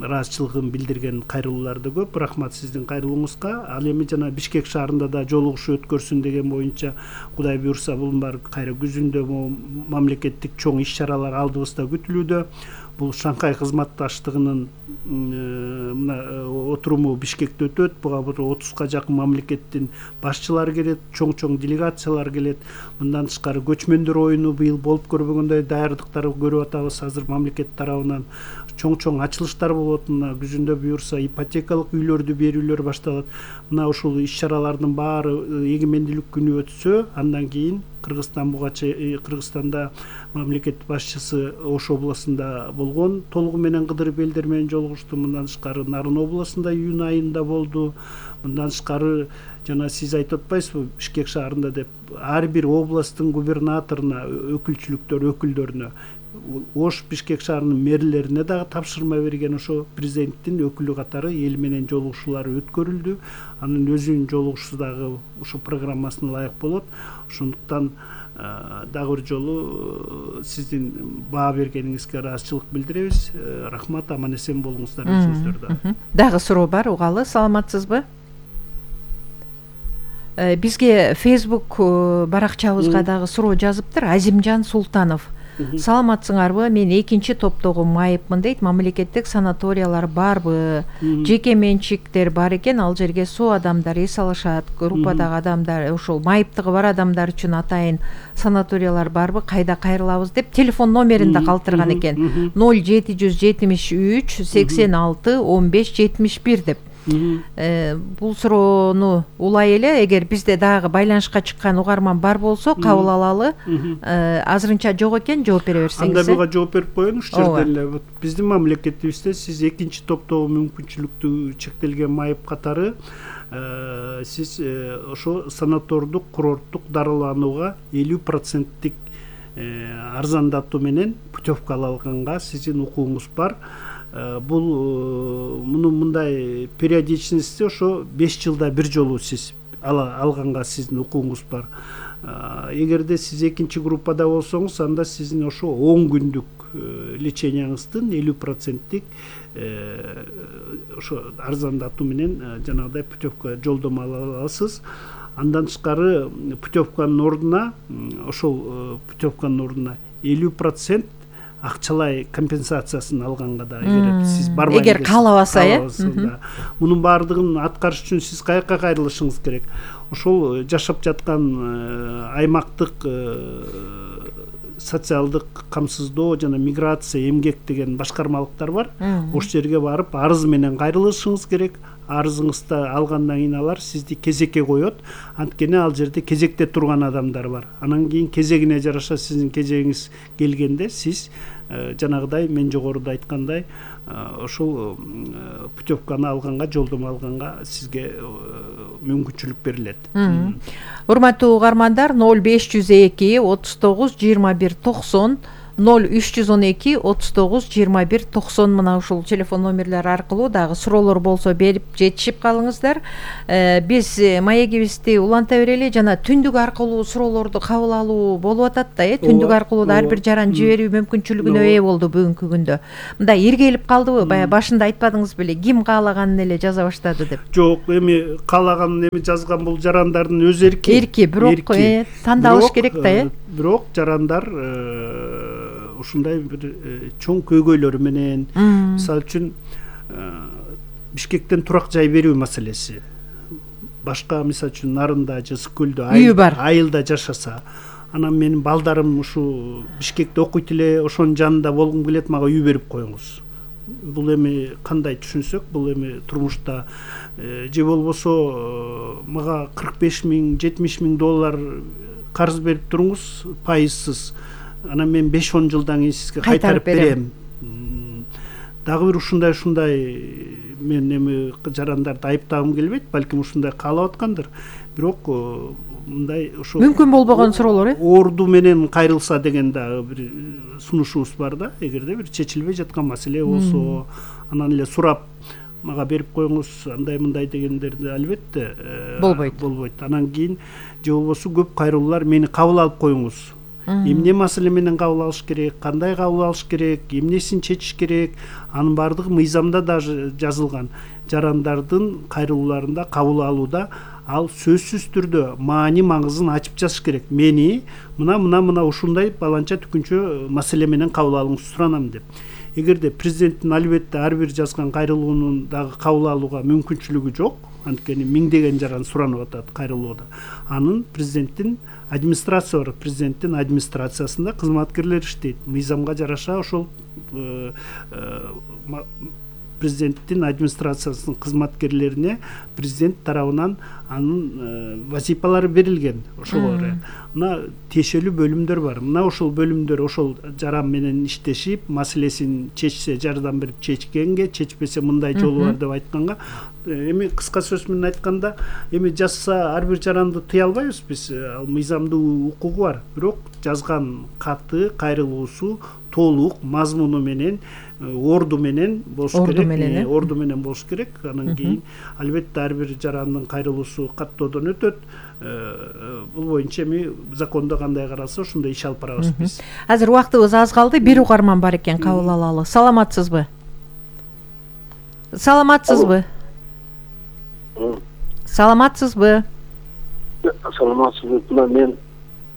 Speaker 2: ыраазычылыгын билдирген кайрылуулар да көп. Рахмат сиздин кайрылууңузга. Ал эми жана Бишкек шаарында да жолугушуу өткөрсүн деген боюнча Кудай буйрса бул бар кайра күзүндө мамлекеттик чоң иш-чаралар алдыбызда күтүлүүдө. Бул Шанхай кызматташтыгынын мына отуруму Бишкекте өтөт. Буга отузга жакын мамлекеттин башчылары келет, чоң-чоң делегациялар келет. Мындан тышкары көчмөндөр оюну быйыл болуп көрбөгөндөй даярдыктарды көрүп атабыз. Азыр мамлекет тарабынан чоң-чоң ачылыштар болот. Мына күзүндө буйрса ипотекалык үйлөрдү берүүлөр башталат. Мына ушул иш-чаралардын баары эгемендүүлүк күнү өтсө, андан кийин Кыргызстан буга Кыргызстанда мамлекет башчысы Ош областында болгон, толугу менен Кыдырып элдер менен жолугушту. Мындан тышкары Нарын областында июнь айында болду. Мындан тышкары жана сиз айтып атпайсызбы Бишкек шаарында деп ар бир областтын губернаторуна, өкүлчүлүктөр өкүлдөрүнө, Ош Бишкек шаарынын мэрлерине дагы тапшырма берген. Ошо президенттин өкүлү катары эл менен жолугушуулар өткөрүлдү. Анын өзүнүн жолугушуусу дагы ушул программасына ылайык болот. Ошондуктан дагы бир жолу сиздин баа бергениңизге ыраазычылык билдиребиз. Рахмат, аман эсен болуңуздар өзүңүздөрдө.
Speaker 3: Дагы суроо бар, угалы. Саламатсызбы? Бизге Facebook баракчабызга дагы суроо жазыптыр. Азимжан Султанов. Саламатсыңарбы? Мен экинчи топтогу майыпмын дейт. Мамлекеттик санаториялар барбы? Жеке менчиктер бар экен, ал жерге суу адамдар эс алышат. Группадагы адамдар, ошол майыптыгы бар адамдар үчүн атайын санаториялар барбы? Кайда кайрылабыз деп телефон номерин да калтырган экен. ноль жети жүз жетимиш үч сексен алты он беш жетимиш бир деп. Бул суроону улай эле, эгер бизде дагы байланышка чыккан угарман бар болсо кабыл алалы. Азырынча жок экен, жооп бере берсеңиз.
Speaker 2: Анда буга жооп берип коеюн. Ушул жерден эле биздин мамлекетибизде сиз экинчи топтогу мүмкүнчүлүктүү чектелген майып катары сиз ошо санатордук, курорттук дарыланууга элүү проценттик арзандатуу менен путевка ала алганга сиздин укугуңуз бар. Бул муну мындай периодичности ошо беш жылда бир жолу сиз алганга сиздин укугуңуз бар. Эгерде сиз экинчи группада болсоңуз, анда сиздин ошо он күндүк леченияңыздын элүү проценттик ошо арзандатуу менен жанагыдай путевка жолдомо ала аласыз. Андан тышкары путевканын ордуна ошол путевканын ордуна элүү процент акчалай компенсациясын алганга да эгер сиз барбайм
Speaker 3: эгер каалабаса, э.
Speaker 2: Мунун баардыгын аткарыш үчүн сиз каяка кайрылышыңыз керек. Ошол жашап жаткан аймактык социалдык камсыздоо жана миграция, эмгек деген башкармалыктар бар. Ошол жерге барып арыз менен кайрылышыңыз керек. Арызыңызды алгандан кийин алар сизди кезекке коет. Анткени ал жерде кезекте турган адамдар бар. Анан кийин кезегине жараша сиздин кезегиңиз келгенде сиз жанагыдай мен жогоруда айткандай ошол путевканы алганга, жолдомо алганга сизге мүмкүнчүлүк берилет.
Speaker 3: Урматтуу угармандар, ноль беш жүз эки отуз тогуз жыйырма бир токсон ноль үч жүз он эки отуз тогуз жыйырма бир токсон мына ушул телефон номерлер аркылуу дагы суроолор болсо берип жетишип калыңыздар. Биз маегибизди уланта берели, жана түндүк аркылуу суроолорду кабыл алуу болуп атат да, э түндүк аркылуу да ар бир жаран жиберүү мүмкүнчүлүгүнө ээ болду бүгүнкү күндө. Мындай иргелип калдыбы? Бая башында айтпадыңыз беле, ким каалаганын эле жаза баштады деп?
Speaker 2: Жок, эми каалаганын эми жазган бул жарандардын өз эрки.
Speaker 3: Эрки, бирок э тандалыш керек да, э.
Speaker 2: Бирок жарандар ушундай бир чоң көйгөйлөрү менен, мисалы үчүн Бишкектен турак жай берүү маселеси, башка мисалы үчүн Нарында же Ысык көлдө айылда жашаса, анан менин балдарым ушу Бишкекте окуйт эле, ошонун жанында болгум келет, мага үй берип коюңуз. Бул эми кандай түшүнсөк, бул эми турмушта же болбосо мага кырк беш миң жетимиш миң доллар карыз берип туруңуз пайызсыз, анан мен беш он жылдан кийин сизге кайтарып берем. Дагы бир ушундай ушундай мен эми жарандарды айыптагым келбейт, балким ушундай каалап аткандыр. Бирок мындай ошо
Speaker 3: мүмкүн болбогон суроолор, э?
Speaker 2: Орду менен кайрылса деген дагы бир сунушубуз бар да. Эгерде бир чечилбей жаткан маселе болсо, анан эле сурап мага берип коюңуз, андай мындай дегендерди албетте
Speaker 3: болбойт.
Speaker 2: Болбойт. Анан кийин же болбосо көп кайрылуулар мени кабыл алып коюңуз. Эмне маселе менен кабыл алыш керек, кандай кабыл алыш керек, эмнесин чечиш керек, анын баардыгы мыйзамда даже жазылган. Жарандардын кайрылууларында кабыл алууда ал сөзсүз түрдө маани маңызын ачып жазыш керек. Мени мына мына мына ушундай баланча түкүнчө маселе менен кабыл алууңузду суранам деп. Эгерде президенттин албетте ар бир жазган кайрылуунун дагы кабыл алууга мүмкүнчүлүгү жок, анткени миңдеген жаран суранып атат кайрылууда, анын президенттин администрация бар, президенттин администрациясында кызматкерлер иштейт. Мыйзамга жараша ошол президенттин администрациясынын кызматкерлерине президент тарабынан анын вазифалары берилген. Ошолор мына тиешелүү бөлүмдөр бар. Мына ошол бөлүмдөр ошол жаран менен иштешип, маселесин чечсе жардам берип чечкенге, чечпесе мындай жолу бар деп айтканга, эми кыска сөз менен айтканда, эми жазса ар бир жаранды тыя албайбыз биз, ал мыйзамдуу укугу бар. Бирок жазган каты, кайрылуусу толук мазмуну менен, орду менен болуш керек, орду менен болуш керек. Анан кийин албетте ар бир жарандын кайрылуусу каттоодон өтөт. Бул боюнча эми закондо кандай каралса ошондой иш алып барабыз биз.
Speaker 3: Азыр убактыбыз аз калды, бир угарман бар экен, кабыл алалы. Саламатсызбы? Саламатсызбы? Саламатсызбы?
Speaker 9: Саламатсызбы? Мына мен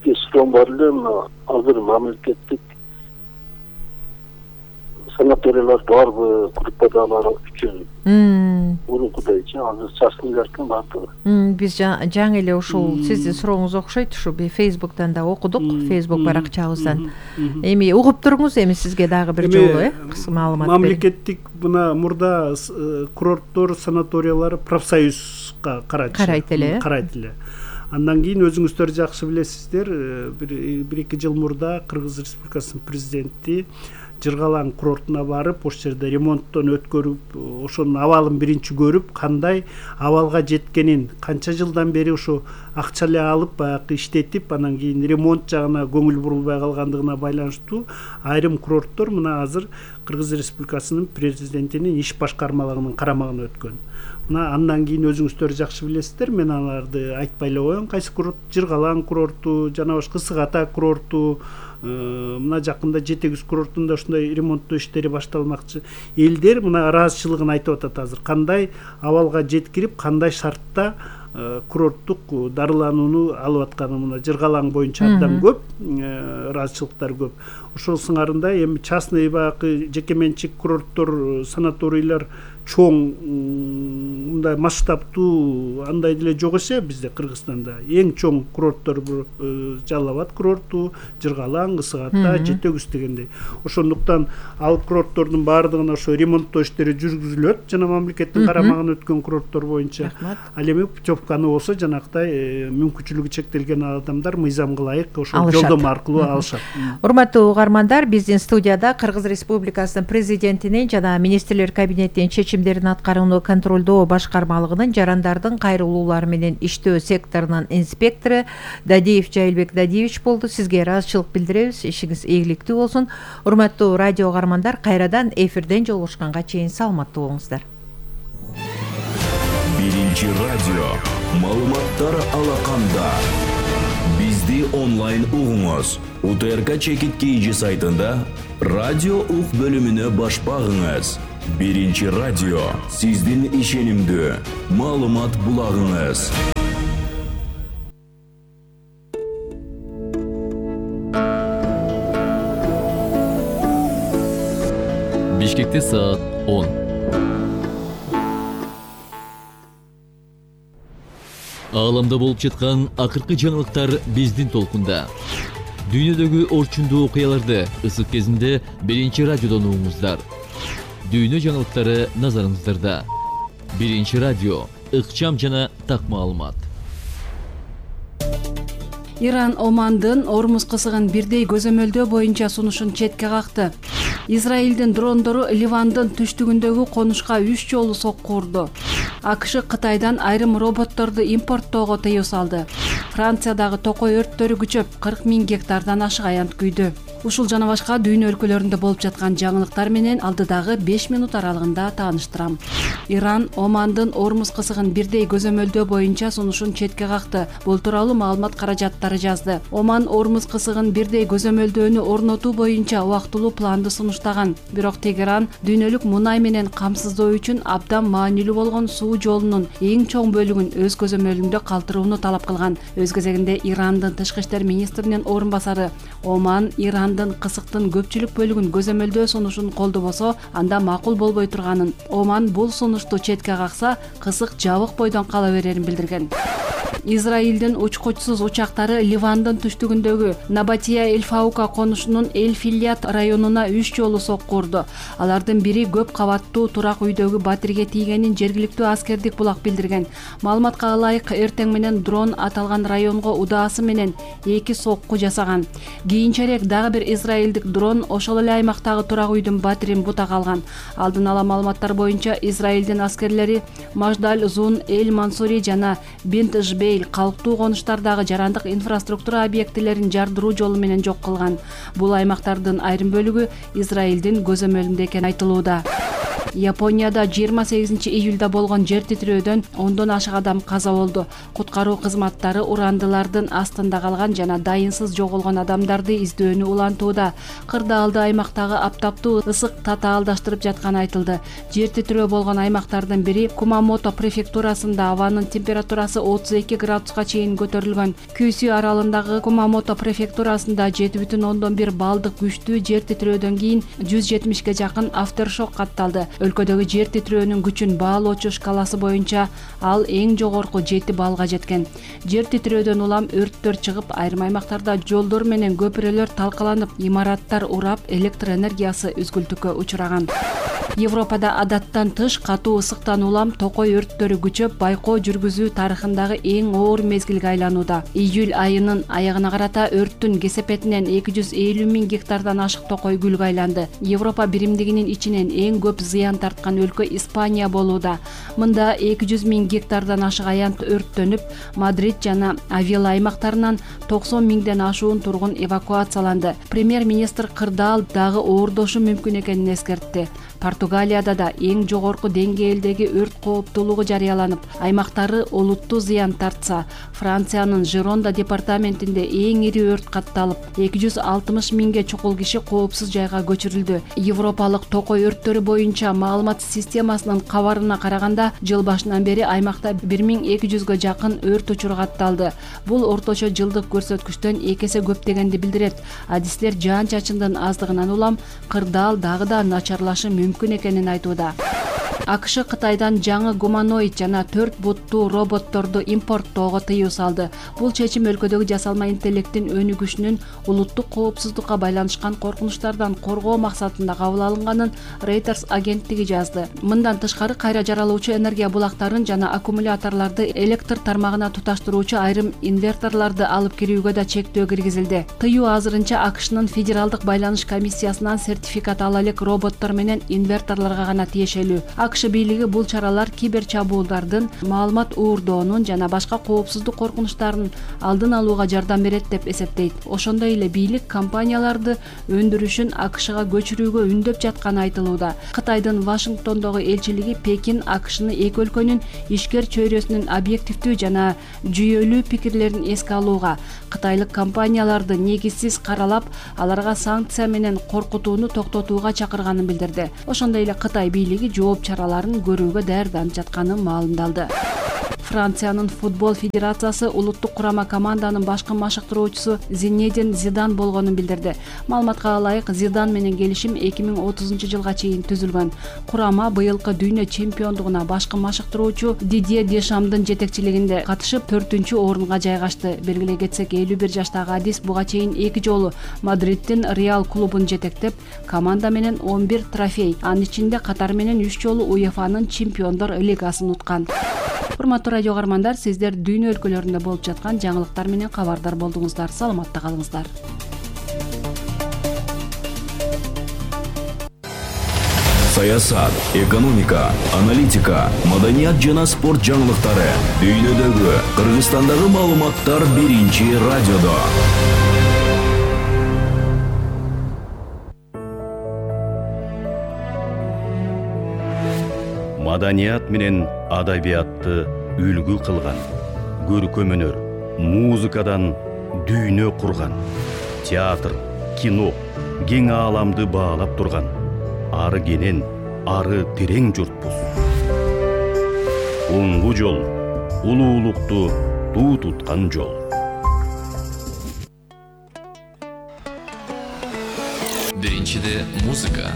Speaker 9: суроом бар эле, мына азыр мамлекеттик санаториялар барбы, группадагылар үчүн мурункудайчы азыр чачылып экен баардыгы.
Speaker 3: Биз жаңы эле ушул сиздин сурооңуз окшойт, ушу Facebook'тан да окудук, Facebook баракчабыздан. Эми угуп туруңуз, эми сизге дагы бир жолу э маалымат берем.
Speaker 2: Мамлекеттик мына мурда курорттор, санаториялар профсоюзга карайт.
Speaker 3: Карайт эле.
Speaker 2: Карайт эле. Андан кийин өзүңүздөр жакшы билесиздер, бир эки жыл мурда Кыргыз Республикасынын президенти Жыргалаң курортуна барып, ошол жерде ремонттон өткөрүп, ошонун абалын биринчи көрүп, кандай абалга жеткенин, канча жылдан бери ошо акча эле алып, баягы иштетип, анан кийин ремонт жагына көңүл бурулбай калгандыгына байланыштуу айрым курорттор мына азыр Кыргыз Республикасынын президентинин иш башкармалыгынын карамагына өткөн. Мына андан кийин өзүңүздөр жакшы билесиздер, мен аларды айтпай эле коеюн, кайсы курорт, Жыргалаң курорту, жана башка Ысык Ата курорту, мына жакында Жетегүз курортунда ушундай ремонттоо иштери башталмакчы. Элдер мына ыраазычылыгын айтып атат азыр. Кандай абалга жеткирип, кандай шартта курорттук дарыланууну алып атканы мына Жыргалаң боюнча абдан көп, ыраазычылыктар көп. Ошол сыңарында эми частный баягы жеке менчик курорттор, санаторийлер чоң мындай масштабтуу андай деле жок эсе бизде Кыргызстанда. Эң чоң курорттор Жалал Абад курорту, Жыргалаң, Ысык Ата, Жетегүз дегендей. Ошондуктан ал курорттордун баардыгына ошо ремонттоо иштери жүргүзүлөт, жана мамлекеттин карамагына өткөн курорттор боюнча. Ал эми путевканы болсо жанактай мүмкүнчүлүгү чектелген адамдар мыйзамга ылайык ошол жолдомо аркылуу алышат.
Speaker 3: Урматтуу угармандар, биздин студияда Кыргыз Республикасынын президентинин жана министрлер кабинетинин чечимдерин аткарууну контролдоо башкармалыгынын жарандардын кайрылуулары менен иштөө секторунун инспектору Дадиев Жайылбек Дадиевич болду. Сизге ыраазычылык билдиребиз. Ишиңиз ийгиликтүү болсун. Урматтуу радио каармандар, кайрадан эфирден жолугушканга чейин саламаттуу болуңуздар.
Speaker 10: Биринчи радио маалыматтар алаканда. Бизди онлайн угуңуз. УТРК чекит кейжи сайтында радио ук бөлүмүнө баш багыңыз. Биринчи радио сиздин ишенимдүү маалымат булагыңыз.
Speaker 11: Бишкекте саат он. Ааламда болуп жаткан акыркы жаңылыктар биздин толкунда. Дүйнөдөгү орчундуу окуяларды ысык кезинде биринчи радиодон угуңуздар. Дүйнө жаңылыктары назарыңыздарда. Биринчи радио, ыкчам жана так маалымат.
Speaker 12: Иран Омандын Ормуз кысыгын бирдей көзөмөлдөө боюнча сунушун четке какты. Израилдин дрондору Ливандын түштүгүндөгү конушка үч жолу сокку урду. АКШ Кытайдан айрым роботторду импорттоого тыюу салды. Франциядагы токой өрттөрү күчөп, кырк миң гектардан ашык аянт күйдү. Ушул жана башка дүйнө өлкөлөрүндө болуп жаткан жаңылыктар менен алдыдагы беш минут аралыгында тааныштырам. Иран Омандын Ормуз кысыгын бирдей көзөмөлдөө боюнча сунушун четке какты. Бул тууралуу маалымат каражаттары жазды. Оман Ормуз кысыгын бирдей көзөмөлдөөнү орнотуу боюнча убактылуу планды сунуштаган. Бирок Тегеран дүйнөлүк мунай менен камсыздоо үчүн абдан маанилүү болгон суу жолунун эң чоң бөлүгүн өз көзөмөлүндө калтырууну талап кылган. Өз кезегинде Ирандын тышкы иштер министринин орун басары Оман Ирандын кысыктын көпчүлүк бөлүгүн көзөмөлдөө сунушун колдобосо, анда макул болбой турганын, Оман бул сунушту четке какса, кысык жабык бойдон кала берерин билдирген. Израилдин учкучсуз учактары Ливандын түштүгүндөгү Набатия Эль-Фаука конушунун Эль-Филят районуна үч жолу сокку урду. Алардын бири көп кабаттуу турак үйдөгү батирге тийгенин жергиликтүү аскердик булак билдирген. Маалыматка ылайык, эртең менен дрон аталган районго удаасы менен эки сокку жасаган. Кийинчерээк дагы бир израилдик дрон ошол эле аймактагы турак үйдүн батирин бута калган. Алдын ала маалыматтар боюнча Израилдин аскерлери Маждаль Зун, Эль-Мансури жана Бинт Жбей калктуу конуштардагы жарандык инфраструктура объектилерин жардыруу жолу менен жок кылган. Бул аймактардын айрым бөлүгү Израилдин көзөмөлүндө экени айтылууда. Японияда жыйырма сегизинчи июлда болгон жер титирөөдөн ондон ашык адам каза болду. Куткаруу кызматтары урандылардын астында калган жана дайынсыз жоголгон адамдарды издөөнү улантууда. Кырдаалды аймактагы аптаптуу ысык татаалдаштырып жатканы айтылды. Жер титирөө болгон аймактардын бири Кумамото префектурасында абанын температурасы отуз эки градуска чейин көтөрүлгөн. Күйсү аралындагы Кумамото префектурасында жети бүтүн ондон бир балдык күчтүү жер титирөөдөн кийин жүз жетимишке жакын афтершок катталды. Өлкөдөгү жер титирөөнүн күчүн баалоочу шкаласы боюнча ал эң жогорку жети баллга жеткен. Жер титирөөдөн улам өрттөр чыгып, айрым аймактарда жолдор менен көпүрөлөр талкаланып, имараттар урап, электр энергиясы үзгүлтүккө учураган. Европада адаттан тыш катуу ысыктан улам токой өрттөрү күчөп, байкоо жүргүзүү тарыхындагы эң оор мезгилге айланууда. Июль айынын аягына карата өрттүн кесепетинен эки жүз элүү миң гектардан ашык токой гүлгө айланды. Европа биримдигинин ичинен эң көп зыян тарткан өлкө Испания болууда. Мында эки жүз миң гектардан ашык аянт өрттөнүп, Мадрид жана Авила аймактарынан токсон миңден ашуун тургун эвакуацияланды. Премьер-министр кырдаал дагы оордошу мүмкүн экенин эскертти. Португалияда да эң жогорку деңгээлдеги өрт кооптуулугу жарыяланып, аймактары олуттуу зыян тартса, Франциянын Жеронда департаментинде эң ири өрт катталып, эки жүз алтымыш миңге чукул киши коопсуз жайга көчүрүлдү. Европалык токой өрттөрү боюнча маалымат системасынын кабарына караганда, жыл башынан бери аймакта бир миң эки жүзгө жакын өрт учуру катталды. Бул орточо жылдык көрсөткүчтөн эки эсе көп дегенди билдирет. Адистер жаан-чачындын аздыгынан улам кырдаал дагы да начарлашы мүмкүн экенин айтууда. АКШ Кытайдан жаңы гуманоид жана төрт буттуу роботторду импорттоого тыюу салды. Бул чечим өлкөдөгү жасалма интеллекттин өнүгүшүнүн улуттук коопсуздукка байланышкан коркунучтардан коргоо максатында кабыл алынганын Reuters агенттиги жазды. Мындан тышкары кайра жаралуучу энергия булактарын жана аккумуляторлорду электр тармагына туташтыруучу айрым инверторлорду алып кирүүгө да чектөө киргизилди. Тыюу азырынча АКШнын федералдык байланыш комиссиясынан сертификат ала элек роботтор менен инверторлорго гана тиешелүү. АКШ бийлиги бул чаралар кибер чабуулдардын, маалымат уурдоонун жана башка коопсуздук коркунучтарын алдын алууга жардам берет деп эсептейт. Ошондой эле бийлик компанияларды өндүрүшүн АКШга көчүрүүгө үндөп жатканы айтылууда. Кытайдын Вашингтондогу элчилиги Пекин АКШны эки өлкөнүн ишкер чөйрөсүнүн объективдүү жана жүйөлүү пикирлерин эске алууга, кытайлык компанияларды негизсиз каралап, аларга санкция менен коркутууну токтотууга чакырганын билдирди. Ошондой эле Кытай бийлиги жооп чараларын көрүүгө даярданып жатканы маалымдалды. Франциянын футбол федерациясы улуттук курама команданын башкы машыктыруучусу Зинедин Зидан болгонун билдирди. Маалыматка ылайык, Зидан менен келишим эки миң отузунчу жылга чейин түзүлгөн. Курама быйылкы дүйнө чемпиондугуна башкы машыктыруучу Дидье Дешамдын жетекчилигинде катышып төртүнчү орунга жайгашты. Белгилей кетсек, элүү бир жаштагы Адис буга чейин эки жолу Мадридтин Реал клубун жетектеп, команда менен он бир трофей, анын ичинде катар менен үч жолу УЕФАнын Чемпиондор лигасын уткан. Урматтуу радио каармандар, сиздер дүйнө өлкөлөрүндө болуп жаткан жаңылыктар менен кабардар болдуңуздар. Саламатта калыңыздар.
Speaker 10: Саясат, экономика, аналитика, маданият жана спорт жаңылыктары дүйнөдөгү, Кыргызстандагы маалыматтар биринчи радиодо. Маданият менен адабиятты үлгү кылган, көркөм өнөр, музыкадан дүйнө курган, театр, кино, кең ааламды баалап турган, ары кенен, ары терең журтпуз. Оңгу жол, улуулукту туу туткан жол.
Speaker 11: Биринчиде музыка.